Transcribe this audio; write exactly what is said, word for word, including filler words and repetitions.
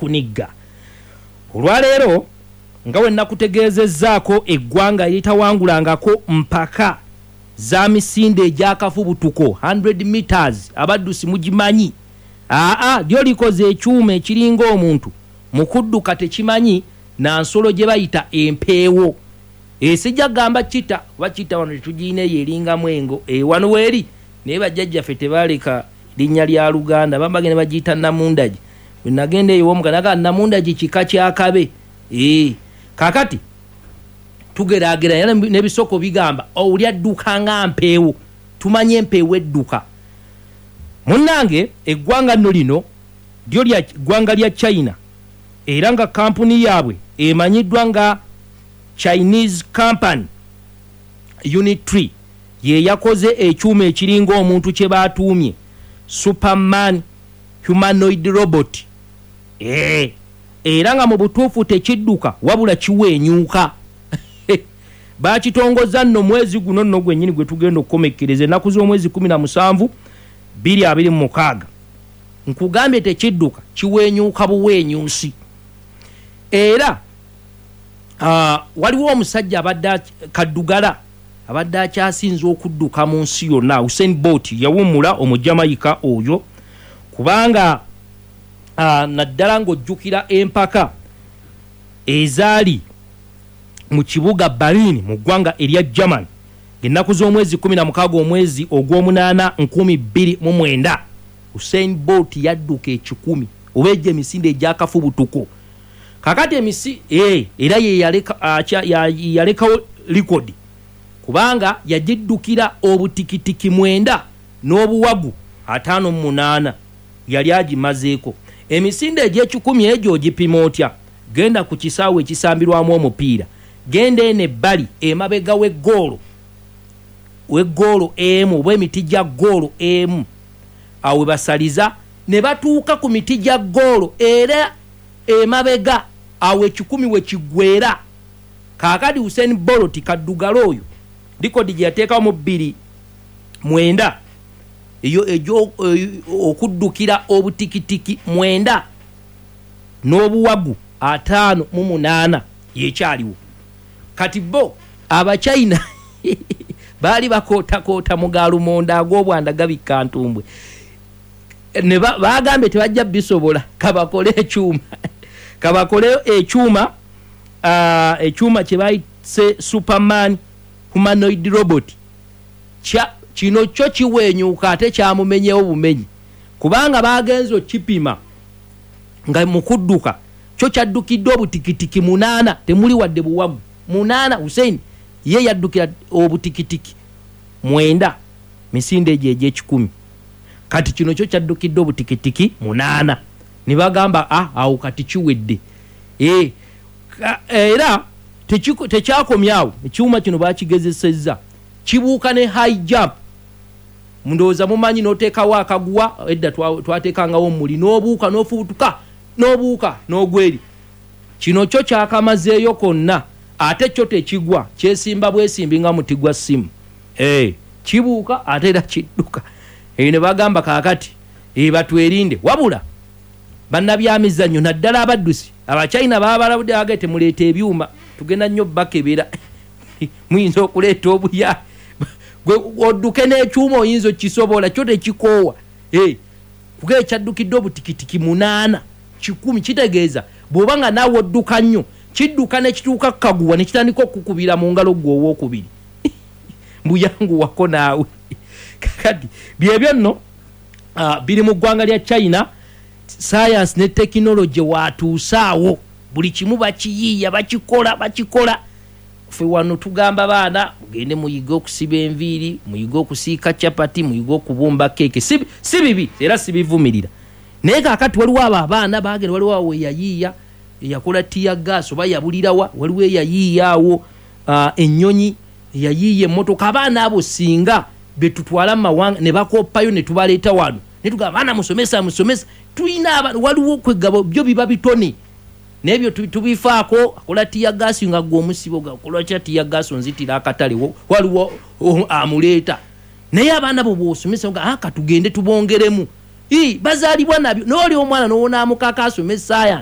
N'okunigga olwaleero, nga we nakutegeezezzaako, eggwanga eritawangulangako mpaka za misinde egyakafubutuko one hundred meters, abaddusi mugimanyi, aa lyo likoze ekyuma ekiringa omuntu mu kudduka, tekimanyi na nsolo gye bayita empeewo. Esijja kugamba kita oba kita, wano tetugiina, eyo eringamu engo. e, wano weeri, naye bajjajjaffe tebaleka linnya lya Luganda, bambagenda bagiyita namundagi. Bwe nagenda eyo womuga naga namundagi kika kyakabe. e, kakati tugeraageranya n'ebisoko bigamba oli adduka nga mpeewo, tumanye empeewo edduka. Munnange, eggwanga nno lino lyo lya ggwanga lya China, era nga kampuni yaabwe emanyiddwa nga Chinese company Unitree ye yakoze ekyuma ekiringa omuntu kye batuumye Superman humanoid robot. ee era nga mu butuufu tekidduka, wabula kiweenyuuka. Bakitongoza nno mwezi guno nno gwennyini gwe tugenda okukomekkereza, ennaku z'omwezi kumi na musanvu bbiri abiri mu mukaaga. Nkugambye tekidduka, kiweenyuuka buweenyuusi. Era uh, waliwo omusajja abadde kaddugala abadde akyasinza okudduka mu nsi yonna, Usain Bolt, yawummula, Omujamayika oyo, kubanga uh, naddala ng'ojjukira empaka ezaali mu kibuga Berlin mu ggwanga erya German ennaku z'omwezi kumi na mukaaga omwezi ogw'omunaana nkumi bbiri mu mwenda, Usain Bolt yadduka ekikumi oba egyo emisinde egyakafubutuko. Kakati emisi e, era ye yalekawo likodi, kubanga yagiddukira obutikitiki mwenda n'obuwagu ataano mu munaana, yali agimazeeko. Emisinde egy'ekikumi egyo ogipima otya? Genda ku kisaawe ekisambirwamu omupiira, genda eno ebbali emabega w'eggoolo w'eggoolo emu oba emiti gya ggoolo emu, awo we basaliza ne batuuka ku miti gya ggoolo, era emabega awo ekikumi we kiggwera. Kaakati Usain Bolt kaddugala oyo, likodi gye yateekawo mu bbiri mwenda eyo egyo okuddukira obutikitiki mwenda n'obuwagu ataano mu munaana yekyaliwo. Kati bo Abachina baali bakootakoota mu galumonda ag'obwanda gabikka ntumbwe, ne bagambye tebajja bisobola, kabakole ekyuma kabakole ekyuma ekyuma kye bayise Superman humanoid robot. Kino kyo kiweenyuka, ate kyamumenyewo bumenyi, kubanga bagenze okipima nga mu kudduka kyo kyaddukidde obutikitiki munaana, temuli wadde buwagu, munaana. Hussein ye yaddukira obutikitiki mwenda, misinde egyo egyekikumi. Kati kino kyo kyaddukidde obutikitiki munaana, ne bagamba, ah, awo kati kiwedde. e, era tekyakomyawo, ekyuma kino bakigezesezza kibuuka ne high jump. Ndowooza mumanyi n'oteekawo akaguwa, edda twateekangawo omuli, n'obuuka n'ofubutuka n'obuuka n'ogweri. Kino kyo kyakamazeeyo konna, ate kyo tekigwa, kyesimba bwesimbi nga muti gwa ssimu. e, kibuuka ate era kidduka. Eyo ne bagamba kaakati e, batwerinde. Wabula bannabyamizannyo, naddala abaddusi, Abachina babalabudde, bagaye temuleeta ebyuma, tugenda nnyo bakebera, muyinza okuleeta obuya. Gwe odduke n'ekyuma oyinza okisobola? Kyo tekikoowa, kuga ekyaddukidde obutikitiki munaana kikumi. Kitegeeza bw'oba nga naawe odduka nnyo, kidduka nekituuka kaguwa nekitandika okukubira mu ngalo gwe owokubiri mbuyanguwako naawe. Kakati byebyo nno uh, biri mu ggwanga lya China. Science ne tekinologi watuusaawo, buli kimu bakiyiiya, bakikola bakikola. Ffe wano tugamba baana mugende muyige okusiba enviiri, muyige okusiika capati, muyige okubumba keeke. si, si bibi era sibivumirira, naye kakati waliwo abo abaana bagenda, waliwo awo eyayiiya eyakola tear gas oba yabulirawa, waliwo eyayiiya awo uh, ennyonyi, eyayiiya emmotoka. Abaana abo singa betutwala mu mawanga ne bakoppayo ne tubaleeta wano ne tugamba, "Baana musomesa, musomesa." Tulina abaana, waliwo kwegaba byo biba bitone nebyo tubifaako. Akola tear gas nga gwe omusibo gakola kya tear gas, onzitira akatale, waliwo amuleeta. Naye abaana bo bwosomesa, ah, katugende tubongeremu, bazaalibwa nabyo. Nooli omwana nowonamukaka asome science.